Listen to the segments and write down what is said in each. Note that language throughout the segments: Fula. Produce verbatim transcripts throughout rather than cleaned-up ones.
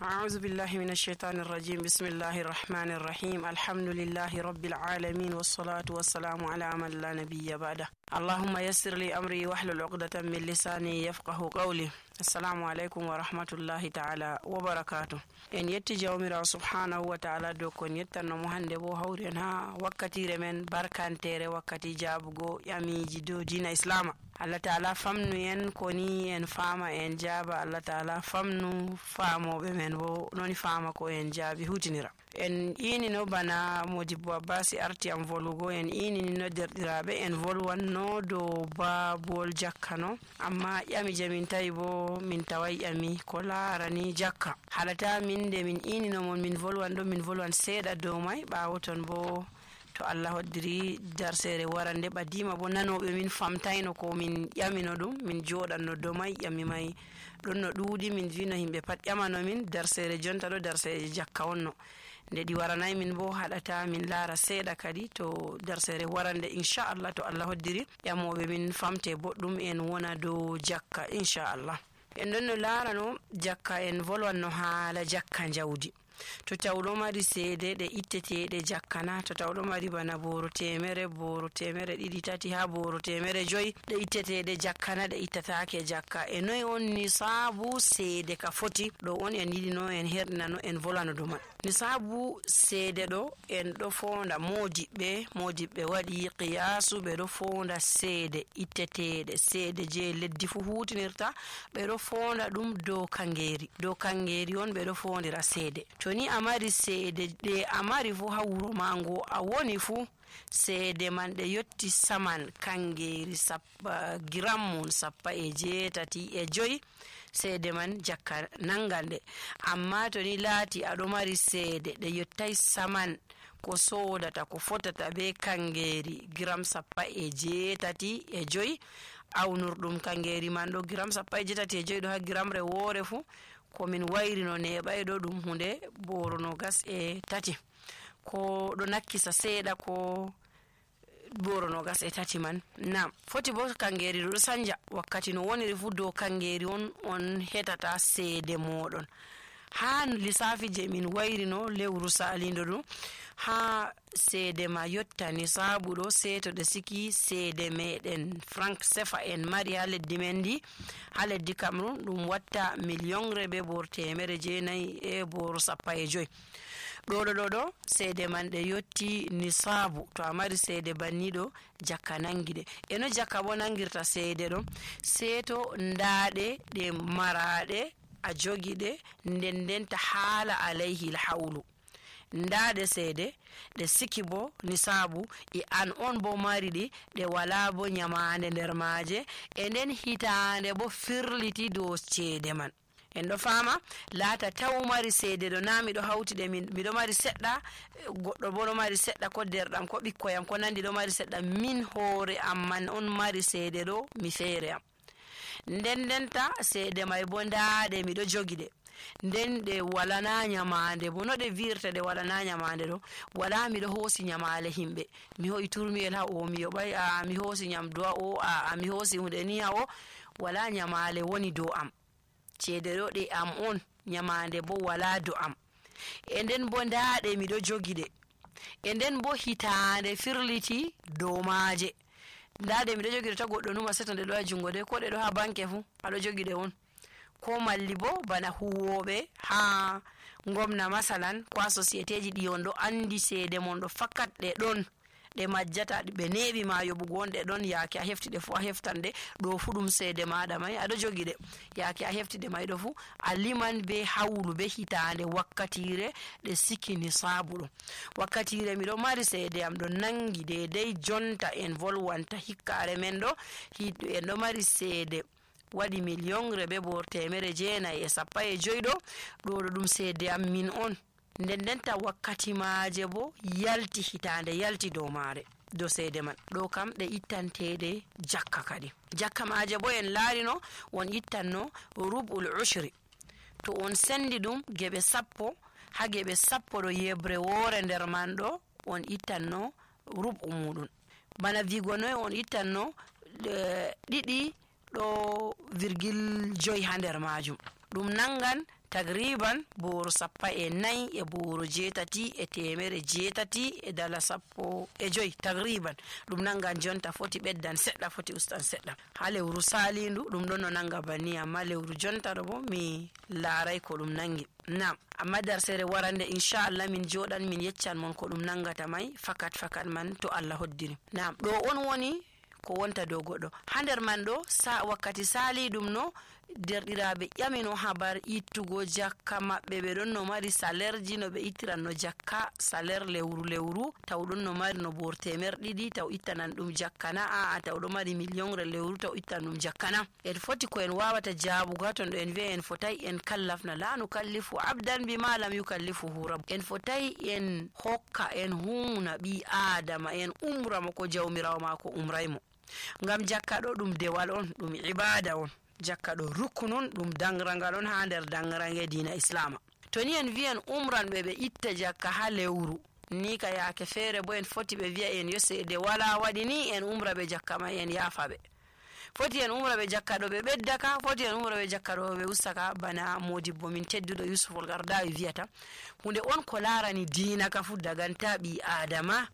أعوذ بالله من الشيطان الرجيم. بسم الله الرحمن الرحيم. الحمد لله رب العالمين، والصلاة والسلام على من لا نبي بعده. اللهم يسر لي أمري واحلل عقدة من لساني يفقه قولي. السلام عليكم ورحمة الله تعالى وبركاته. En yetti Jawmiraawo subhaanahu wa ta'ala dow ko en yettanno mo hannde boo hawri en haa wakkatiire men barkanteere, wakkati jaabugo ƴamiiji dow diina Islaama. Allah ta'ala famnu en ko ni en faama en jaaba. Allah ta'ala famnu faamooɓe men boo noni faama ko en jaabi huutinira. En iinino bana Modibbo Abbasi arti am volugo, en iinini no derɗiraaɓe, en volwanno dow baabol jakka no. Amma ƴami je min tawi boo, min taway ƴami ko laarani jakka. Haɗata min nde min iinino mon, min volwan ɗo, min volwan seeɗa dow may. Ɓaawo ton boo, to Allah hoddiri, darseere warande ɓadiima boo, nanooɓe min famtayno ko min ƴamino ɗum, min jooɗanno dow may, ƴami may ɗon no ɗuuɗi, min vino yimɓe pat ƴamano min, darseere jonta ɗo, darseere jakka wonno. Nde ɗi waranay min boo, haɗata min laara seeɗa kadi to darseere warande, inchallah, to Allah hoddiri, ƴamooɓe min famte boɗɗum, en wona dow jakka, inchallah. En ɗon no laarano jakka, en volwanno haala jakka njawdi. To tawɗo mari seede ɗe itteteeɗe jakka na, to tawɗo mari bana booro teemere, booro teemere ɗiɗi, tati, haa booro teemere joyi, ɗe itteteeɗe jakka na, ɗe ittataake jakka. E noy on nisaabu seede ka foti? Ɗo on en yiɗino en herɗinano, en volano dow man. Nisaabu seede ɗo, en ɗo foonda moodiɓɓe, moodiɓɓe waɗi qiyaasu, ɓe ɗo foonda seede itteteeɗe, seede je leddi fuu huutinirta, ɓe ɗo foonda ɗum dow kaŋgeeri. Dow kaŋgeeri on ɓe ɗo foondira seede. To ni a mari seede ɗe a mari fuu haa wuro ma ngo a woni fuu, seede man ɗe yotti saman kaŋgeeri sappa, giram mum sappo e jeetati e joy, seede man jakka naŋgan ɗe. Amma to ni laati a ɗo mari seede ɗe yottay saman ko soodata, ko fotata bee kaŋgeeri giram sappo e jeetati e joy, awnurɗum kaŋgeeri man ɗo giram sappo e jeetati e joy ɗo haa giramre woore fuu, ko min wayrino neeɓay ɗo ɗum huunde booro noogas e tati. Ko ɗo nakkisa seeɗa ko booro noogas e tati man. Naam, foti boo kaŋgeeri ɗo sanja wakkati no woniri fuu, dow kaŋgeeri on, on heɓata seede mooɗon. Haa lisaafi je min wayrino lewru saalindo ɗo, haa seede ma yotta nisaabu ɗo, sey to ɗe siki seede meɗen franc sefa en mari haa leddi men ndi, haa leddi Cameroun, ɗum watta miliyonre bee booro teemere jeenayi e booro sappo e joy. Ɗo ɗo ɗo ɗo, seede man ɗe yotti nisaabu. To a mari seede banni ɗo, jakka naŋgi ɗe. E no jakka boo naŋgirta seede ɗo? Sey to ndaa ɗe, ɗe maraaɗe, a jogi ɗe, nden ndenta haala alayhi hawlu. Ndaa ɗe seede, ɗe siki boo nisaabu, e an on boo mari ɗi, ɗe walaa boo nyamaande nder maaje, e nden hitaande boo firliti dow ceede man. En ɗo faama, laata taw mari seede ɗo, naa miɗo hawti ɗe, min, miɗo mari seɗɗa, goɗɗo boo ɗo mari seɗɗa, ko deerɗam, ko ɓikkoy am, ko nanndi ɗo mari seɗɗa, min hoore am man on mari seede ɗo, mi feere am. Nden ndenta seede may boo ndaa ɗe, miɗo jogi ɗe. Nden ɗe walanaa nyamaande boo. No ɗe viirta ɗe walanaa nyamaande ɗo? Walaa miɗo hoosi nyamaale yimɓe. Mi ho'i turmiyel haa o, mi yoɓay, aa, mi hoosi nyamdu haa o, aa, mi hoosi huunde ni haa o. Walaa nyamaale woni dow am. Ceede ɗo ɗe am on, nyamaande boo walaa dow am. E nden boo ndaa ɗe miɗo jogi ɗe. E nden boo hitaande firliti dow maaje. Ndaa ɗe miɗo jogi ɗe, ta goɗɗo numa seto ɗe ɗo haa juŋngo de, ko ɗe ɗo haa banke fuu, a ɗo jogi ɗe on. Ko malli boo bana huuwooɓe haa ngomna masalan, ko haa sosiyeteeji ɗi on ɗo anndi ceede mon ɗo fakat ɗe ɗon. Ɗe majjata, ɓe neeɓi ma yoɓugo on ɗe ɗon, yaake a hefti ɗe fuu a heftan ɗe, ɗo fuu ɗum seede maaɗa may, a ɗo jogi ɗe. Yaake a hefti ɗe may ɗo fuu, a liman bee hawlu, bee hitaande, wakkatiire ɗe siki nisaabu ɗo. Wakkatiire miɗo mari seede am ɗo naŋgi deydey jonta en volwanta hikkaare men ɗo, hi-, en ɗo mari seede waɗi miliyonre bee booro teemere jeenayi e sappo e joy ɗo, ɗo ɗo ɗum seede am min on. Nden ndenta wakkati maaje boo yalti, hitaande yalti dow maare, dow seede man. Ɗo kam ɗe ittanteeɗe jakka kadi. Jakka maaje boo en laarino, on ittanno rub'ul ushri. To on senndi ɗum geɓe sappo, haa geɓe sappo ɗo yeɓre woore nder man ɗo, on ittanno rub'u muuɗum. Bana viigo noy on ittanno, eh, ɗiɗi ɗo virgil joy haa nder maajum. ɗum nanngan tagriiban booro sappo e nayi e booro jeetati e teemere jeetati e dala sappo e joy, tagriiban. Ɗum nanngan jonta foti ɓeddan seɗɗa, foti ustan seɗɗa. Haa lewru saaliindu, ɗum ɗon no nannga banni, ammaa lewru jonta ɗo boo, mi laaray ko ɗum nanngi. Naam, ammaa darseere warande, inchallah, min jooɗan, min yeccan mon ko ɗum nanngata may, fakat, fakat man, to Allah hoddiri. Naam, ɗo on woni ko wonta dow goɗɗo. Haa nder man ɗo, sa-, wakkati saaliiɗum no, derɗiraaɓe ƴamino habar ittugo jakka maɓɓe. Ɓe ɗon no mari salerji no ɓe ittiranno jakka, saler lewru lewru, taw ɗon no mari no boor teemer ɗiɗi, taw ittanan ɗum jakka na, aa, taw ɗo mari miliyonre lewru, taw ittan ɗum jakka na. En foti ko en waawata jaabugo haa ton ɗo en wi'a en fotay en kallafna, "La nukallifu abdan bima lam yukallifuhu rabb." En fotay en hokka, en huuna ɓii Aadama, en umra mo ko Jawmiraawo maako umray mo. Ngam jakka ɗo ɗum dewal on, ɗum ibaada on. Jakka ɗo ruknun, ɗum daŋraŋgal on haa nder daŋraŋge diina Islaama. To ni en wi'en umran ɓe, ɓe itta jakka haa lewru, ni ka yaake feere boo en foti ɓe wi'a en yo seede walaa waɗi ni en umra ɓe jakka may en yaafa ɓe. Foti en umra ɓe jakka ɗo ɓe ɓedda ka, foti en umra ɓe jakka ɗo ɓe usta ka, bana moodibbo min tedduɗo Yusuf Al Qaradawi wi'ata. Huunde on ko laarani diina ka fuu daganta ɓii Aadama,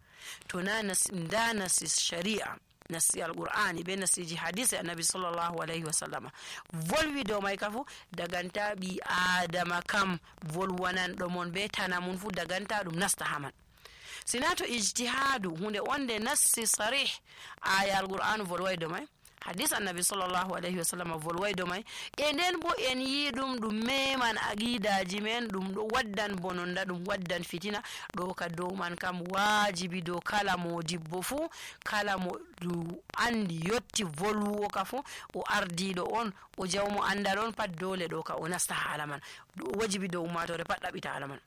to na nas-, ndaa nasi shari'a, nasi Alqur'aani bee nasiiji hadiise Annabi sallallahu alayhi wa sallama. Volwi dow may ka fuu daganta ɓii Aadama kam volwananɗo mon bee tana mum fuu daganta ɗum nasta haa man. Sina to ijtihaadu, huunde on nde nassi sarih, aaya Alqur'aanu volway dow may, hadiis Annabi sallallahu alayhi wa sallam volway dow may, e nden boo en yi'i ɗum, ɗum meeman aqiidaaji men, ɗum ɗo waddan bononda, ɗum waddan fitina, ɗo ka dow man kam waajibi dow kala moodibbo fuu, kala mo ɗum anndi yotti volwugo ka fuu, o ardiiɗo on, o jawmo anndal on, pat doole ɗo ka o nasta haala man. Ɗum wajibi dow ummaatoore pat ɗaɓɓita haala man.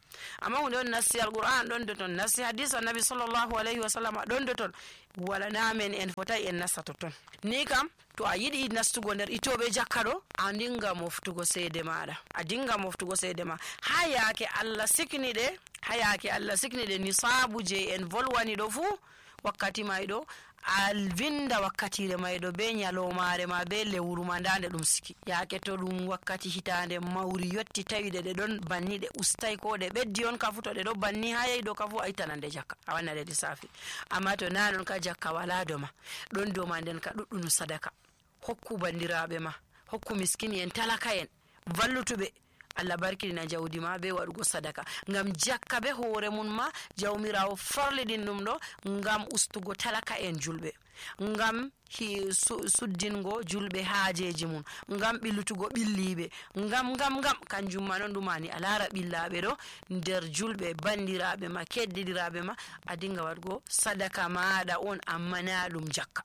Ammaa huunde on nassi Alqur'aan ɗon doton, nassi hadiis Annabi sallallahu alayhi wa sallam ɗon doton, wala na men en fotay en nasta totton. Ni kam, to a yiɗi nastugo nder itooɓe jakka ɗo, a dinga moftugo seede maaɗa. A dinga moftugo seede ma. Haa yaake Allah sikni ɗe, haa yaake Allah sikni ɗe nisaabu jey en volwani ɗo fuu, wakkati may ɗo, a vinnda wakkatiire may ɗo bee nyaloomaare ma, bee lewru ma, ndaa nde ɗum siki. Yaake to ɗum wakkati hitaande mawri yotti, tawi ɗe, ɗe ɗon banni, ɗe ustay ko ɗe ɓeddi on ka fuu, to ɗe ɗo banni haa yahi ɗo ka fuu, a ittanan ɗe jakka, a wanna ɗe lissafi. Ammaa to naa non ka, jakka walaa dow ma, ɗon dow ma nden ka ɗuɗɗunu sadaka. Hokku banndiraaɓe ma, hokku miskin'en, talaka'en, vallutuɓe. Allah barkiɗina jawdi ma bee waɗugo sadaka. Ngam jakka bee hoore mum ma, Jawmiraawo farliɗin ɗum ɗo ngam ustugo talaka'en julɓe, ngam hi-, su-, suddingo julɓe haajeeji mum, ngam ɓillutugo ɓilliiɓe, ngam, ngam, ngam, kanjum ma non ɗum ani a laara ɓillaaɓe ɗo nder julɓe, banndiraaɓe ma, keddiɗiraaɓe ma, a dinga waɗugo sadaka maaɗa on, ammaa naa ɗum jakka.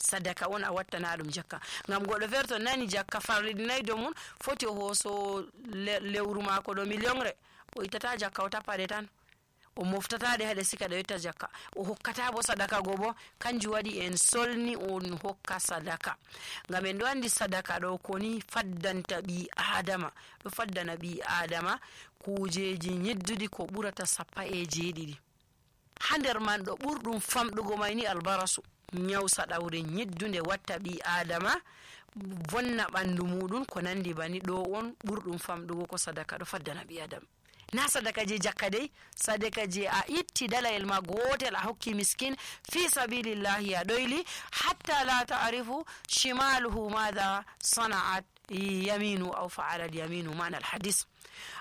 Sadaka on a wattana ɗum jakka. Ngam goɗɗo feere to nani jakka farliɗinay dow mum, foti o hooso le-, lewru maako ɗo miliyonre, o ittata jakka, o tappa ɗe tan. O moftata ɗe haa ɗe sika ɗe yotta jakka. O hokkata bo sadaka go bo. Kanjum waɗi en solni on hokka sadaka. Ngam en ɗo anndi sadaka ɗo ko ni faddanta ɓii Aadama. Ɗo faddana ɓii Aadama kuujeeji nyidduɗi ko ɓurata sappo e jeeɗiɗi. Haa nder man ɗo ɓurɗum famɗugo may ni albarasu, nyaw saɗawre nyiddunde watta ɓii Aadama, vonna ɓanndu muuɗum, ko nanndi banni. Ɗo on ɓurɗum famɗugo ko sadaka ɗo faddana ɓii Aadama. Naa sadaka jey jakka dey, sadaka jey a itti dalayel ma gootel a hokki miskin, fii sabiilillaahi a ɗoyli, hatta laa ta'rifu shimaaluhu maada sana'at yamiinu aw fa'ala al yamiinu, maana al hadis.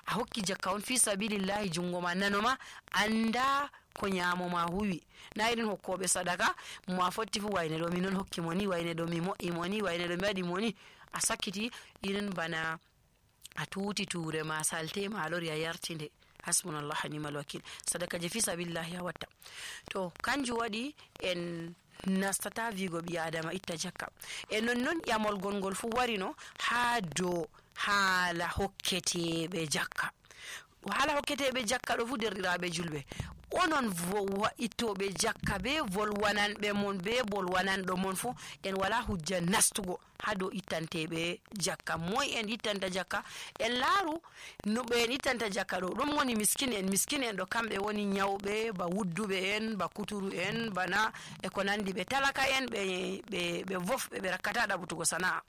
A hokki jakka on fii sabiilillaahi, junngo ma nano ma anndaa ko nyaamo ma huwi. Naa irin hokkooɓe sadaka, mo a fotti fuu wayne ɗo, min on hokki mo ni, wayne ɗo mi mo'i mo ni, wayne ɗo mi waɗi mo ni. A sakkiti irin bana a tuuti tuure ma, salte ma, a lori a yarti nde. Hasbunallah wa ni'mal wakiil. Sadaka je fii sabiilillaahi a watta. To, kanjum waɗi en nastata viigo ɓii Aadama itta jakka. E nonnon ƴamol gongol fuu warino haa dow haala hokketeeɓe jakka. Haala hokketeeɓe jakka ɗo fuu, derɗiraaɓe julɓe, onon vo-, wa-, ittooɓe jakka ɓe, volwananɓe mon ɓe, volwananɗo mon fof, en walaa hujja nastugo haa dow ittanteeɓe jakka. Moy en ittanta jakka? En laaru no ɓe en ittanta jakka ɗo. Ɗum woni miskin en. Miskin en ɗo, kamɓe woni ñawɓe, ba wudduɓe en, ba kuturu en, bana e ko nandi ɓe, talaka en, ɓe, ɓe, ɓe vof, ɓe, ɓe rakkataa ɗaɓɓutugo sana'a.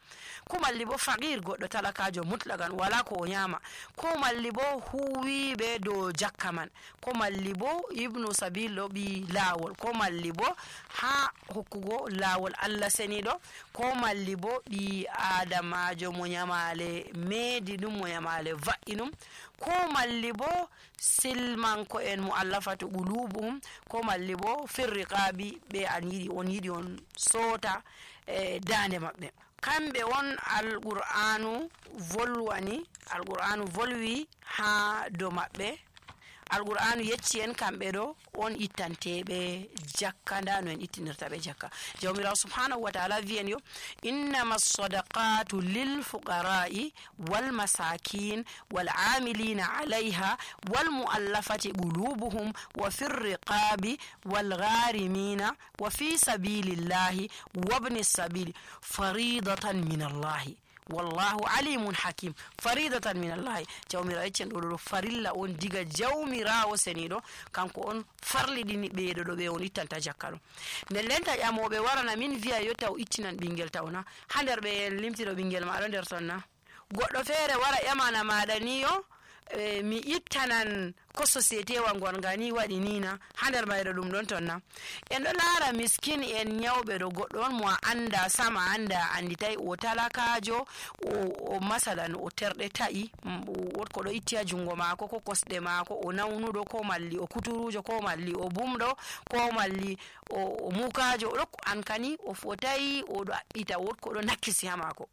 Ko malli bo faqir, goɗɗo talakaajo mutlagan, walaa ko o ñaama. Ko malli bo huuwiiɓe dow jakka man. Ko malli bo ibnu sabil ɗo, ɓii laawol. Ko malli bo haa hokkugo laawol Allah seniiɗo. Ko malli bo ɓii aadamaajo mo ñamaale meedi ɗum, mo ñamaale va'i ɗum. Ko malli bo silmanko en, mu'allafatu qulubuhum. Ko malli bo firriqaabi, ɓe an yiɗi, on yiɗi on soota, e, daande maɓɓe. Kamɓe on Alqur'aanu volwani, Alqur'aanu volwi haa dow maɓɓe. Alqur'aanu yecci en kamɓe ɗo on ittanteeɓe jakka, ndaa no en ittinirta ɓe jakka. Jawmiraawo subhaanahu wa ta'ala wi'i en yo, "Innama sadaqatu lil fuqara'i wal masakin wal amilina alayha wal mu'allafati qulubuhum wa fir riqabi wal gharimina wa fi sabilillahi wabni sabili faridatan min Allahi. Wallahu alimun hakim." Faridatan min Allahi. Jawmiraawo yeccen ɗo, ɗo farilla on diga Jawmiraawo seniiɗo, kanko on farliɗini ɓe ɗo, ɗo ɓe on ittanta jakka ɗo. Nden nden ta ƴamooɓe warana min wi'a yo taw ittinan ɓingel taw na. Haa nder ɓe en limtiro ɓingel ma ɗo nder ton na. Goɗɗo feere wara ƴamana maɗa ni yo, e, mi ittanan ko société wa ngonga ni waɗi ni na, haa nder mayre ɗum ɗon ton na. En ɗo laara miskin en ñawɓe ɗo, goɗɗo on mo a annda sama, annda a annditay, o talakaajo, o, o masalan o terɗe ta'i, mm, o, wot ko ɗo itti haa junngo maako, ko kosɗe maako, o nawnuɗo, ko malli o kuturuujo, ko malli o bumɗo, ko malli o, o mukaajo, o ɗo an kani o fotay, o ɗo aɓɓita, wot ko ɗo nakkisi haa maako.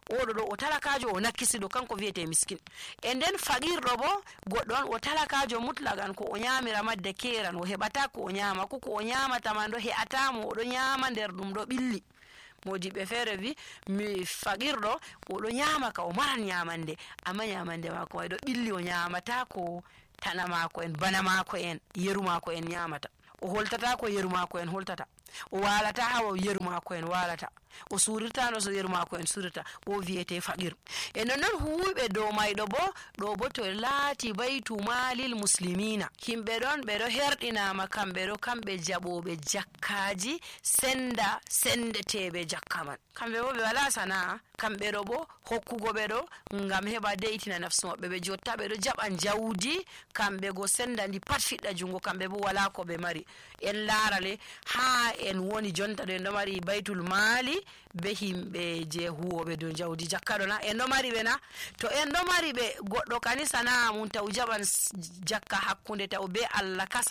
Oɗo ɗo o talakaajo, o nakkisiɗo, kanko wiyetee miskin. E nden faqiirɗo bo, goɗɗo on o talakaajo mutlagan, ko o ñaamira madde keeran, o heɓataa ko o ñaama, ko, ko o ñaamata man ɗo he'ataa mo, o ɗo ñaama nder ɗum ɗo ɓilli. Moodiɓɓe feere wi, mi faqiirɗo, o ɗo ñaama ka, o maran ñaamande, amma ñaamande maako may ɗo ɓilli, o ñaamataa ko tana maako en, bana maako en, yeru maako en ñaamata. O holtataa ko yeru maako en holtata. O waalataa haa yeru maako en waalata. O suurirtaa no so yeru maako en suurirta. O wiyetee faqiir. E non non huuwiiɓe dow mayɗo bo, ɗo bo to laati baytu maalil muslimiina. Yimɓe ɗon ɓe ɗo herɗinaama kamɓe ɗo, kamɓe jaɓooɓe jakkaaji senda, sendeteeɓe jakka man. Kamɓe bo ɓe walaa sana'a. Kamɓe ɗo bo hokkugo ɓe ɗo ngam heɓa de'itina nafsu maɓɓe. Ɓe jotta ɓe ɗo jaɓa njawdi, kamɓe go senda ndi pat fiɗɗa junngo, kamɓe bo walaa ko ɓe mari. En laara le, haa en woni jonta ɗo en ɗo mari baytul maali be himɓe je huwooɓe dow njawdi jakka ɗo na? En ɗo mari ɓe na? To en ɗo mari ɓe, goɗɗo kani sana'a mum taw jaɓan s-, jakka hakkunde taw be Allah kasa